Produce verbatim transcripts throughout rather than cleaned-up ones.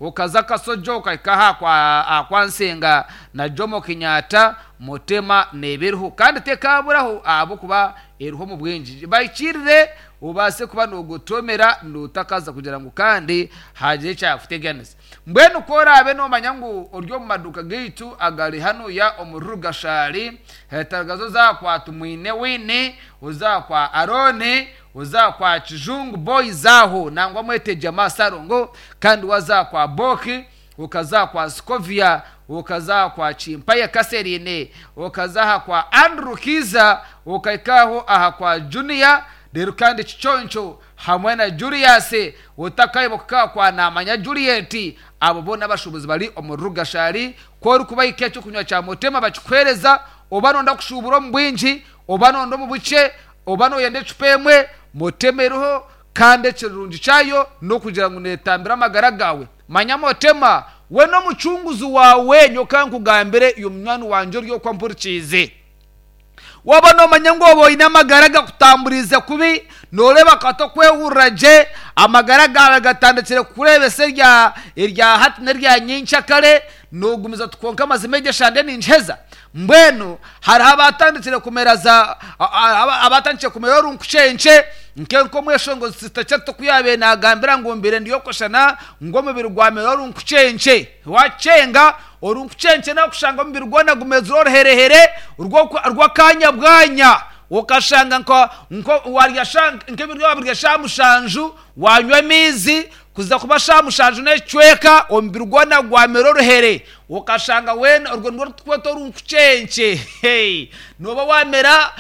Okaza Kasojo okahika aha kwa, aha kwa Nsenga na Jomo Kenyatta, Mutema neeba kandi tekaburaho ahabw'okuba eriho omu bwingi. Bahikirire obaase kuba noogotomera nootakaza kugira ngu kandi hagire ekyakuteganisa. Mbwenu ku oraabe noomanya ngu ori omu maduuka gaitu agari hanuya omuri Rugashari, taragaza oza kwa Tumwine Winnie, oza kwa Arooni, oza kwa Kijungu Boys aho nangwa mwete Jamaa Sarongo, kandi waza kwa Boki, okaza kwa Scovia, okaza kwa Chimpaya Kaserine, okaza aha kwa Andrew Kiza, okahika aha kwa Junior, rero kandi Kiconco hamwe na Julius, otakayibuka kwa Namanya Juliet, abo boona abashuubuzi bari omu Rugashari. Ku orikubahika ekyokunywa kya Mutema bakikuheereza, oba noyenda kushuubura omu bwingi, oba noyenda omu bukye, oba noyenda ecupa emwe, Mutema eriho kandi ekirungi kyayo n'okugira ngu neetambira amagara gaawe. Manya Mutema we n'omucunguzi waawe nyowe nkugambire iwe munywani wangye ori okwo mpurikiize. Waaba noomanya ngu oba oine amagara gakutamburiize kubi, nooreeba kati okwehurira gye, amagara gaawe gatandikire kukureebesa erya erya hati n'erya nyencakare, noogumiza oti kwonka amazima egi eshande ningiheza. Mbwenu hariho abatandikire kumera za abatandikire kumera orunkukyekye nk'omweshongozi Sister Charity oku yaabaire naagambira ngu mbaire ndi okweshana ngu omubiri gwamera orunkukyekye. Wakyenga orunkukyekye nakushanga omubiri gwona gumezire oruherehere rw'akanya bwanya, okashanga nka nka warya nk'ebiryo wabirya shaaha mushanju, wanywa amaizi kuza kuba shaaha mushanju n'ekicweka omubiri gwona gwamera oruhere, okashanga weena orwo nirwo turukweta orunkukyekye. Nooba wamera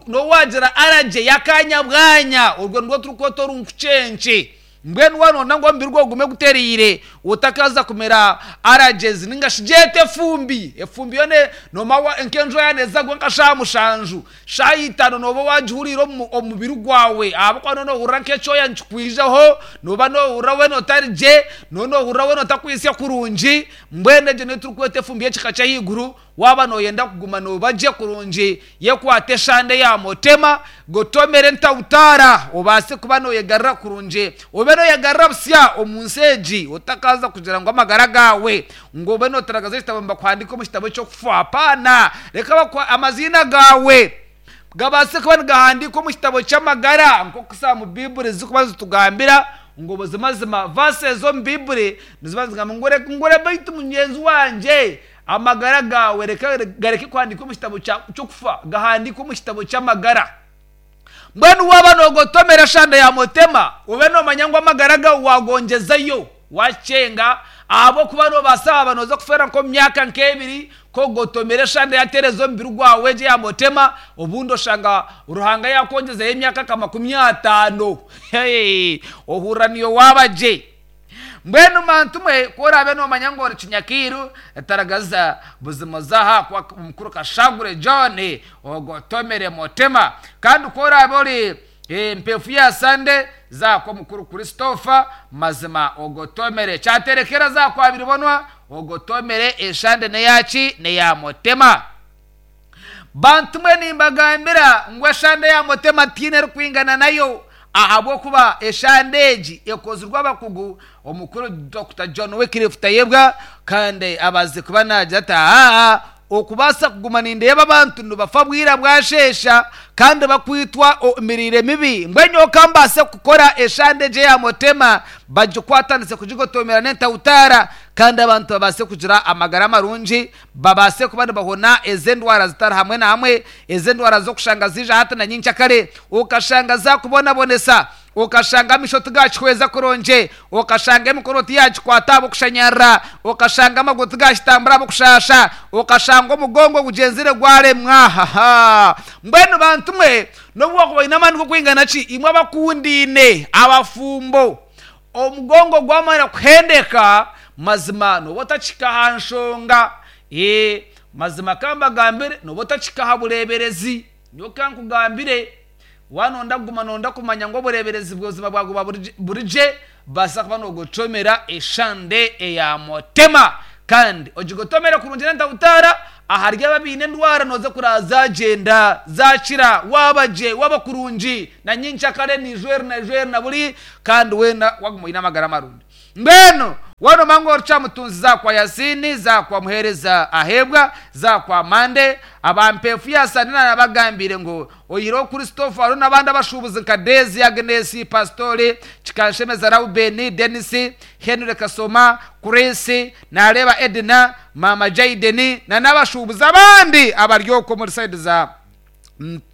nooba wagira allergy y'akanya bwanya, orwo nirwo turukweta orunkukyekye. Mbwenu waaba nooyenda ngu omubiri gwawe gugume gutereire otakaza kumera allergies ninga shi gyete efumbi, efumbi yo noomanya nk'enjura yaaba neeza kugwa nka shaaha mushanju, shaaha itaano nooba waagihuriire omu mubiri gwawe ahabw'okuba nooba noohurira nk'ekyoya nikikwijaho, nooba noohurira weena otari gye, nooba noohurira weena otakwitsya kurungi, mbwenu egyo niyo turikweta efumbi y'ekika ky'ahaiguru. Waaba nooyenda kuguma nooba gye kurungi, yekwate eshande ya Mutema, gotomere entawutaara obaase kuba nooyegarura kurungi, obe nooyegarura busya omu nsi egi otakaza kugira ngu amagara gaawe ngu obe nootaragaza ekitabo nibakuhandiika omu kitabo eky'okufa hapaana. Reka amaziina gaawe gabaase kuba nigahandiikwa omu kitabo ky'amagara nk'oku omu Baiburi zirikuba zitugambira ngu buzimazima verse ez'omu Baiburi niziba nizigamba ngu ore beitu mugyenzi wangye amagara gaawe reka gareke kuhandiikwa omu kitabo ky'okufa, gahandiikwe omu kitabo ky'amagara. Mbwenu waaba noogotomera eshande ya Mutema, obe noomanya ngu amagara gaawe waagongyezayo wakyenga ahabw'okuba noobaasa waaba nooza kufeera nk'omu myaka nk'ebiri kogotomera eshande yateereza omubiri gwawe egyo eya Mutema, obundi oshanga Ruhanga yaakwongyezayo emyaka nka makumi ataano. Ohurira niiwe waaba gye. Mbwenu bantu mwe ku oraabe noomanya ngu ori kinyakiiru, taragaza buzima oze aha kwa mukuru Kashagure John ogotomere Mutema. Kandi ku oraabe ori empeefu ya Sande, za aha kw'omukuru Christopher mazima ogotomere. Kyaterekera za aha kwa Biribonwa ogotomere eshande n'eyaki n'eya Mutema. Bantu mwe nimbagambira ngu eshande ya Mutema tihaine erikwingana nayo ahabw'okuba eshande egi ekozirwe abakugu omukuru Dokita John Wycliffe Tayebwa kandi abaze kuba naagira ati aa okubaasa kuguma nindeeba abantu nibafa bwira bwasheesha kandi bakwitwa emiriire mibi, mbwenu nyowe ka mbaase kukora eshande egi eya Mutema bagikwatanise kugigotomera n'entawutaara kandi abantu babaase kugira amagara marungi, babaase kuba nibahona ez'endwara zitari hamwe na hamwe, ez'endwara z'okushanga ziija hati na nyencakare, okashanga zaakubonabonesa, okashanga amaisho tigakihweza kurungi, okashanga emikono tiyagikwata ahabw'okushanyarara, okashanga amaguru tigakitambura ahabw'okushaasha, okashanga omugongo gugyenzire gwaremwa. Mbwenu bantu mwe n'obu waakuba oine amaani g'okwingana ki, imwe abakundaine, abafumbo, omugongo gwamara kuhendeka mazima nooba otakihika aha nshonga. Mazima ka mbagambire nooba otakihika aha bureeberezi. Nyowe ka nkugambire waaba nooyenda kuguma nooyenda kumanya ngu obureeberezi buzima bwaguma buri gye, baasa kuba noogotomera eshande eya Mutema kandi ogigotomere kurungi n'entawutaara ahari abo abaine endwara nooza kuraba zaagyenda zaakira waaba gye waaba kurungi na nyencakare nijweri na jweri na buri kandi weena waguma oine amagara marungi. Mbwenu. Wano mango rucamutunzi zakwa Yasini, zakwa Muhereza Ahebwa, zakwa Mande abampefu yasanina nabagambire ngo oyiro Christopher aro n'abandi abashubuzi nka Dezi Agnes Pastori Kikanshemeza Raubeni Denis Henry Kasoma Chris nareba Edna Mama Jaideni na n'abashubuzi abandi abaryoko muri side za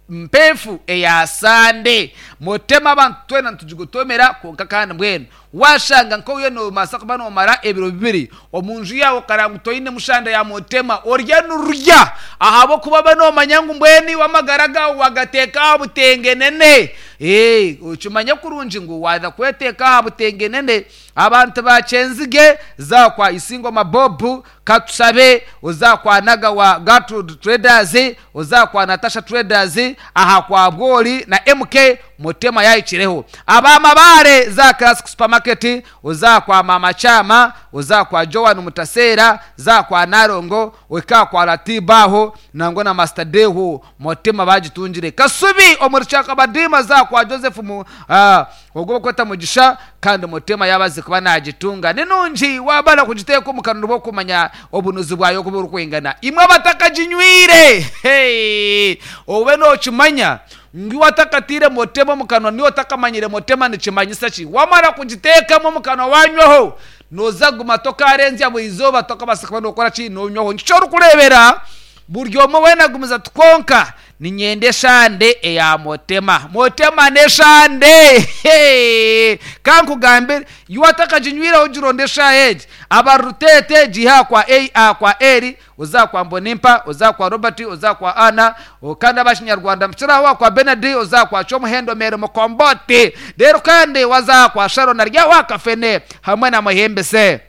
mpefu eyasande. Mutema abantu twena ntujigutomera konka kandi mbwenu washanga nko uyo no masaka bano mara ebiro bibiri omunju yawo karangu toyine mushanda ya mutema orya nurya ahabo kuba bano manyangu mbweni wamagaraga wagateka butengenene eh ukimanya kurungi ngo waza kweteka butengenene. Abantu bacenzige zakwa Isingo Mabobu Katusabe uzakwa Naga wa Gertrude Traders uzakwa Natasha Traders aha kwa Bwoli na M K Mutema yayikireho. Abamabare za Classic Supermarket uzakwa Mama Chama uzakwa Joan Mutasera zakwa Narongo weka kwa Ratibaho nango na Master Deho Mutema bagitungire. Kasubi omurchaka badima zakwa Joseph mu uh, ogoba kweta mugisha kandi Mutema yabaze kuba nagitunga ninungi wabala kugiteka mukanuru bo kumanya obunuzi bwayo kubura kwingana imwe batakaginywire. Hey, obe no kimanya ngi watakatire Mutema mukanwa niyo takamanyire Mutema nikimanyisa ki wamara kugitekamo mukanwa wanywaho noza guma tokarenzya bwizoba tokabasa no kora ki nonywaho nkico rukurebera buryo mo wena gumiza tukonka ninyende shande eya Mutema Mutema ne shande. Hey, kankugambe yuwatakaginywira ugirondesha eje abarutete jiha kwa a a kwa eri uzakwa Mbonimpa uzakwa Robert uzakwa Ana ukanda abashinyarwanda mchirawa kwa Benedi uzakwa Chomuhendo Mere Mukomboti rero kandi wazakwa Sharon arya wakafene hamwe na Muhembese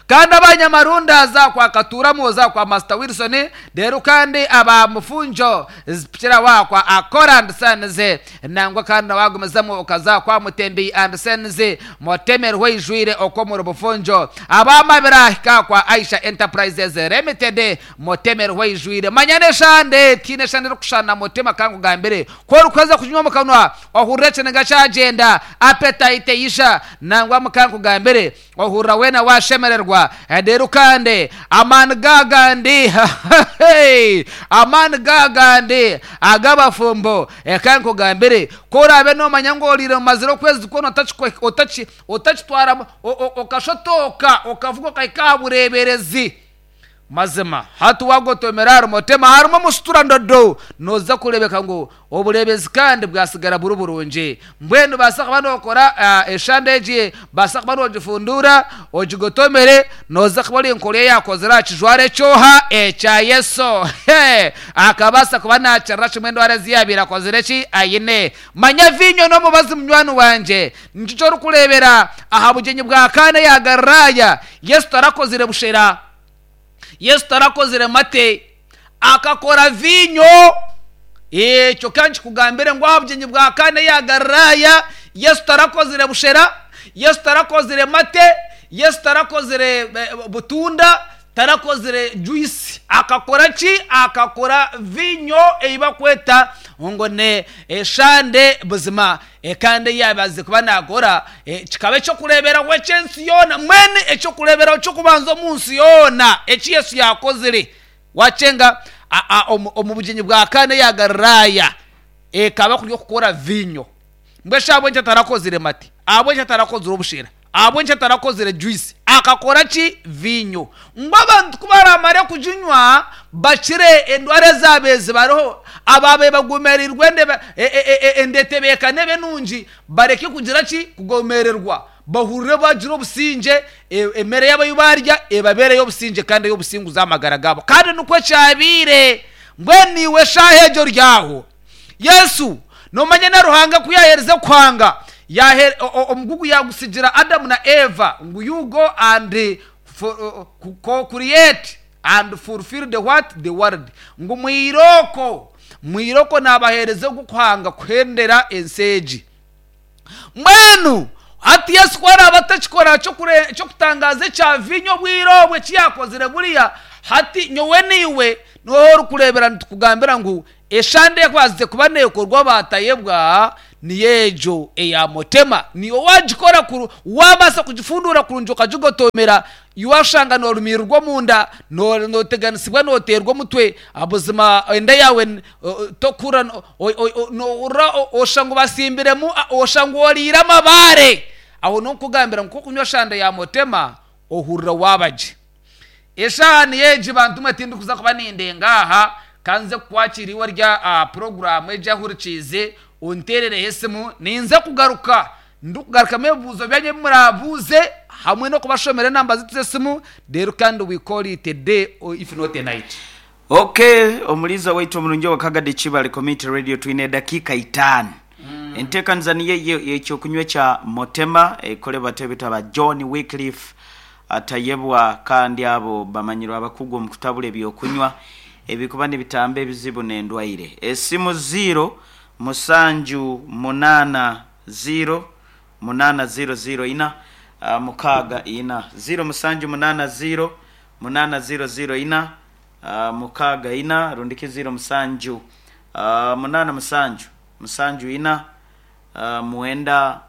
kandi abanyamarunda zakwa Katuramo zakwa Master Wilson rero kandi aba mufunjo zipira wakwa Akora and Sons nangwa kandi wagumizamo ukazakwa Mutembi and Sons Mutemerwe ijwire okomoro bufunjo abamabira kakwa Aisha Enterprises Limited Mutemerwe ijwire manyane shande tine shande rukushana Mutema kangu gambere ko rukaza kunywa mukanwa ohuretse ngachagenda appetite yisha nangwa mukangu gambere ohura wena washemererwa rero kandi amani gagandi amani gagandi agabafumbo ekankugambire korabe nomanya ngo orire mumazire okwezi kwona otakitwara okashotoka okavuga okahika bureberezi mazima hati wagotomera hari Mutema harimo omusutura ndodo noza kurebeka ngo oburebezi kandi bwasigara buri burungi mbwenu basa kuba nokora uh, eshande egi basa kuba nogifundura ogigotomere noza kuba ori enkora eyakozire aha kijwaro ekyoha ekya Yesu akabasa kuba nakirira kimwe endwara ezi yabiire akozire ki ayine. Manya vinyo n'omubazi munywani wangye nikyo orikureebera aha bugyenyi bwa Kana ya Galilaya Yesu tarakozire bushera Yesu tarakozire mate akakora vinyo ekyo kandi kugambire ngo aha bugyenyi bwa Kana ya Galilaya Yesu tarakozire bushera Yesu tarakozire mate Yesu tarakozire butunda tarakozire juice akakora ki akakora vinyo eibakweta ngo ne eshande buzima kandi yabaze kuba nakora kikaba ekyokureberaho ekyensi yoona mwene ekyokureberaho kyokubanza omunsi yoona eki Yesu yakozire wacenga omu bugyenyi bwa Kana ya Galilaya ekaba kuri okukora vinyo mbwesha abwenki atarakozire mate abwenki atarakozire obushera abwenki atarakozire juice akakora ki vinyo ngo abantu kubaramare kuginywa bakire endwara zabezi bariho ababe bagumerirwe endetebekane benungi bareke kugira ki kugomererwa bahurire bagira obusinge emere yabo barya ebabereyo obusinge kandi y'obusingu z'amagara gabo kandi nukwo kyabire mbweniwe shaha egyo ryaho Yesu nomanye na Ruhanga kuyahereza kwanga yahe omugugu yagusigira Adamu na Eva ngu you go and co-create and fulfill the what the world ngu mwiroko mwiroko nabahereze gukwanga kuhendera enseji mwenu ati Yesu kwara batakikora cyo kutangaza cya vinyo bwirobwe kiyakozire buriya hati nyowe niwe noho rukurebera tukugambira ngu eshande kwazize kuba nekorwa batayebwa Niyo egyo eya Motema. Niyo waagikora kuru waabaasa kugifunduura kurungi okagigotomera, waashanga noorumirirwa omunda, nooteganisibwa, nooteerwa omutwe, buzima enda yaawe tokuhurira, noohurira oshusha ngu basimbiremu, oshusha ngu oriire amabaare. Aho ninkugambira ngu ku orikunywa eshanda ya Motema, ohurira waaba gye. Eshaaha niyo egi bantu mwe tindikuza kuba nindenga aha, ka nze kukwakira iwe ori aha puroguraamu egi ahurikiize, onteerereho esimu, ninza kugaruka ndikugarukamu ebibuuzo byanyu ebi muraabuuze hamwe n'okubashomera enamba zaitu z'esimu, reero kandi we call it a day or if not a night. Okay, omuliiza waitu omurungi owa Kagadi Kibale Community Radio twine edakiika itaano. Enteekaniza niyo eyo ey'ekyokunywa ekya Motema ekolebwa twebeta ba John Wycliffe Tayebwa kandi abo bamanyirwe abakugu omu kutabura ebyokunywa ebikuba nibitamba ebizibu n'endwaire. Esimu ziiro musanju munaana ziiro munaana ziiro ziiro ina mukaaga ina, ziiro musanju munaana ziiro munaana ziiro ziiro ina mukaaga ina rundiki ziiro musanju munaana musanju musanju ina mwenda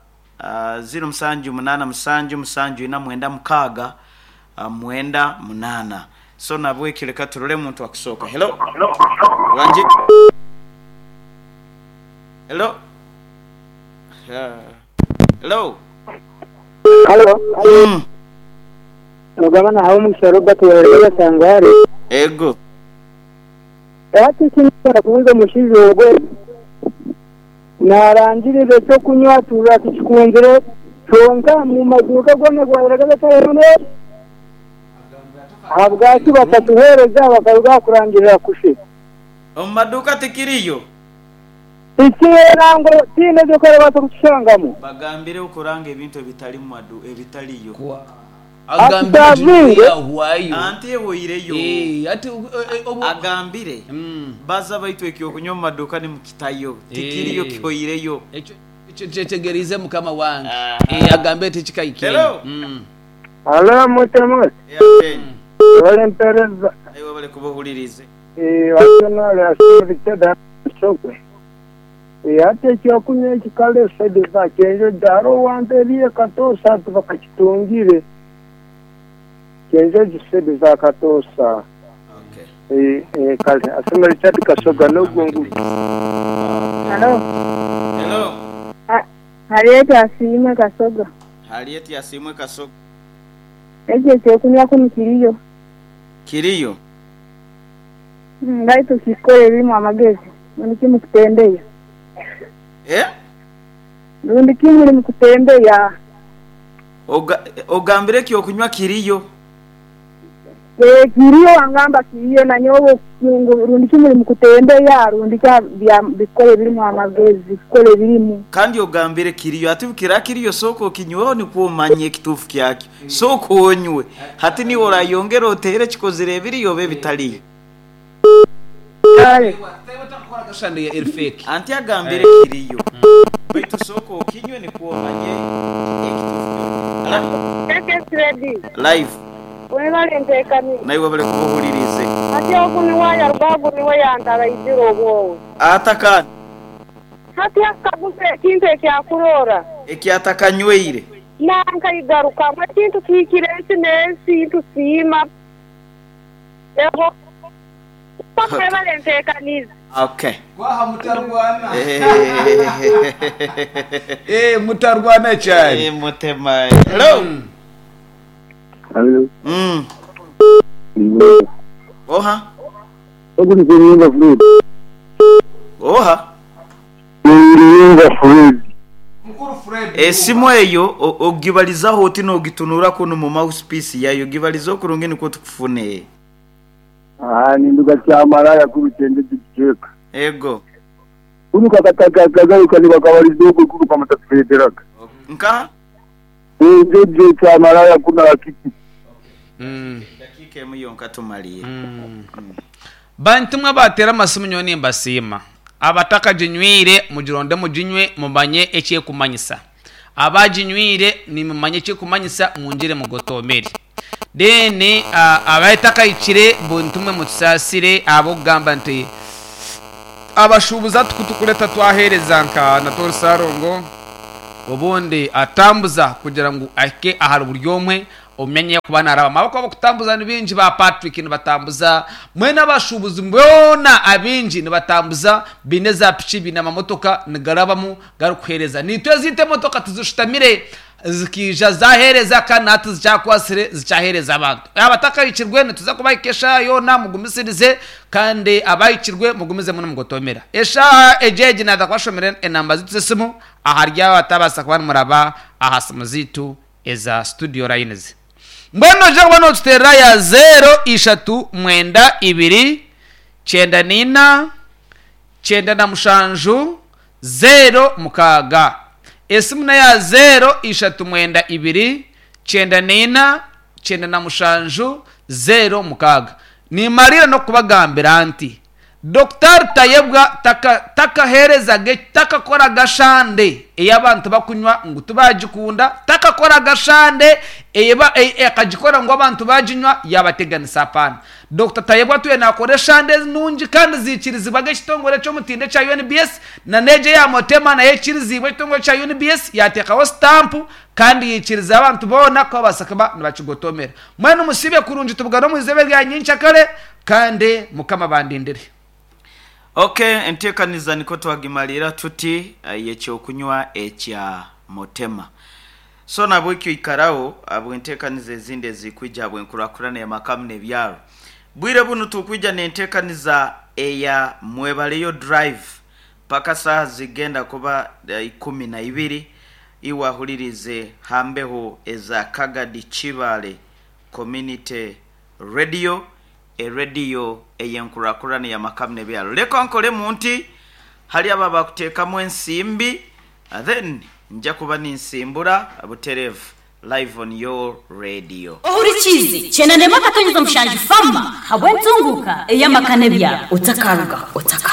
ziiro musanju munaana musanju musanju ina mwenda mukaaga mwenda munaana. So nabwekyo leka turole omuntu akusooka. Hello? Wangi? Hello? Hello? Halo. Mm. Ogaba nahawe omugisha Robert wa Sangare. Ego. Hati ekinkushobora kubuuza omushaija ogwe narangirira ekyokunywa tuhurira tukikunzire kyonka omu maduuka goona gwahurira gatarimu ahabwaki batatuheereza bakaruga aha kurangirira kushe. Omu maduuka tikiriyo? Tikiriyo nangwa tihaine eduuka orabaasa kukishangamu. Bagambire okuranga ebintu ebitari mu madu ebitariyo. Agambire Ati yahwayo. Anti ehweireyo. Eh, ati eh, obu Agambire Mm. baza baitu ekyokunywa omu maduuka nimukitayo tikiriyo Eh. kihoireyo. Ekyo ekyo kyetegerize mukama wange. Aha. Eh, agambe tikikaikire. Hello. Mm. Halo mutemu. Yeah, Ole mpereza. Aiwe bale kubuhulirize. Eh watonale asibiteda sokwe. Eh ate ekyokunywa ekikale saidi za kyenjo daro wamberiye katosa bakakitungire. Kyenjo gisedi za katosa. Okay. Eh eh kale asema Richard Kasoga n'ogungu. Halo. Hello. Harriet Asiimwe Kasoga. Harriet Asiimwe Kasoga. Ekyo ekyokunywa kunu kiriyo. Kiriyo. Mm, Baitu kikore birimu amagezi. Rundi kimu kutembeya. Eh? Rundi kimu uri mukutembeya. Oga, ogambire ekyokunywa kiriyo. Eh, kiriyo wangamba kiriyo na nyowe ngu rundi kimu uri mukutembeya rundi kya bya bikore birimu amagezi bikore birimu. Kandi ogambire kiriyo ati bukira kiriyo soko kinyweho nikwo omanye ekituufu kyakyo. Soko onywe. Hati niwe orayongera otere kikozire ebiriyo oba ebitariyo. Kale. Kashande ya fake. Anti agambire kiriyo. Baitu soko okinywe nikwo omanye ekituufu kyakyo. Ready. Live. Webale nteekani. Naiwe bale kubuhulirize. Hati ogu niwe yaruga ogu niwe yantaraizire obwowe. Atakani. Hati akaguza ekintu ekyakuroora. Ekyatakanywire. Nankaigarukamu ekintu kihikire ensi n'ensi ntusiima. Eho. Webale nteekanize. Okay. Kwaha mutarwana. Eh, mutarwana cyane. Eh, mutema. Hello. Halo. Mm. Oha. Ogu ni Fred. Oha. Niyumva Fred. Mukuru Fred. Esimu eyo ogibalizaho oti nogitunura kuno mu mouthpiece yayo gibaliza okurungi nikwo tukufune. Ah ninduka kyamaraya kubitende giceka. Ego. Kuno kakataka kagaruka ni bakabaliza ogu kuno kamutatfederaga. Nka? Nje kyamaraya kuna akiki. Mm. Dakika emu yonka tumaliye. Mm. Bantu mwe batera amasimu nyowe nimbasiima. Abatakaginywire mugironde muginywe mumanye ekyekumanyisa. Abaginywire nimumanye ekyekumanyisa mungire mugotomere. Then uh, abatakayikire buntu mwe mutusaasire abokugamba nti Abashuubuzi tukutukureta twaheereza nka Natori Sarongo, obundi atambuza kugira ngu ahike ahari buri omwe omumenye kuba naraba amaboko. Abakutambuza ni bingi, ba Patrick nibatambuza, mwene abashuubuzi boona abingi nibatambuza, biine za piki, biine amamotoka nigarabamu garikuheereza. Nitwe ezite emotoka tizishutamire zikija zaheereza, kandi nati zikyakwasire zikyaheereza abantu. Abatakahikirwe nituza kubahika eshaaha yoona, mugumisirize, kandi abahikirwe mugumizemu nimugotomera eshaaha egi. Egi naza kubashomera enamba zitu z'esimu ahari abo batabaasa kuba nimuraba aha simu zitu eza studio lines. Mbwenu ojja kuba notuterera ya zero ishatu mwenda ibiri kyenda nina kyenda na mushanju zero mukaaga. Esimu nayo zero ishatu mwenda ibiri kyenda nina kyenda na mushanju zero mukaaga. Nimarira nokubagambira nti Dr Tayebwa takaherezage, takakora gashande ey'abantu bakunywa ngu tubagikunda, takakora gashande akagikora ngu abantu baginywa yabateganisa. Apana, Dr Tayebwa tuye nakora eshande nungi kandi zikirizibwaga ekitongore ky'omutindo ekya U N B S, na neje ya Motema nayo ekirizibwa ekitongore kya U N B S, yateekaho sitampu kandi yikiriza abantu boona ko babasa kuba nibakigotomera. Mwene musibe kurungi, tubugane omu izebe rya nyincakare, kandi Mukama bandindire. Okay, enteekaniza niko twagimalira tuti eh, yekyokunywa ekya Motema. So nabwekyo ikarawo abwenteekaniza ezindi ezikwija bwenkurakurana yamakamu n'ebyaro. Bwire bunu tukwija nenteekaniza eya Mwebaleyo Drive paka saha zigenda kuba eh, ikumi na ibiri. Iwahulirize hambeho eza Kagadi Chibale Community Radio, erediyo eyenkurakurana yamakamu n'ebyaro. Leka nkolemu nti hali abo abakuteekamu ensimbi, uh, then nja kuba ninsimbura buterevu live on your radio. Ohurikizi cyenda ndema akatonyeza mushanju fama habwe ntunguka ey'amakane byabo utakaruga utakaruga.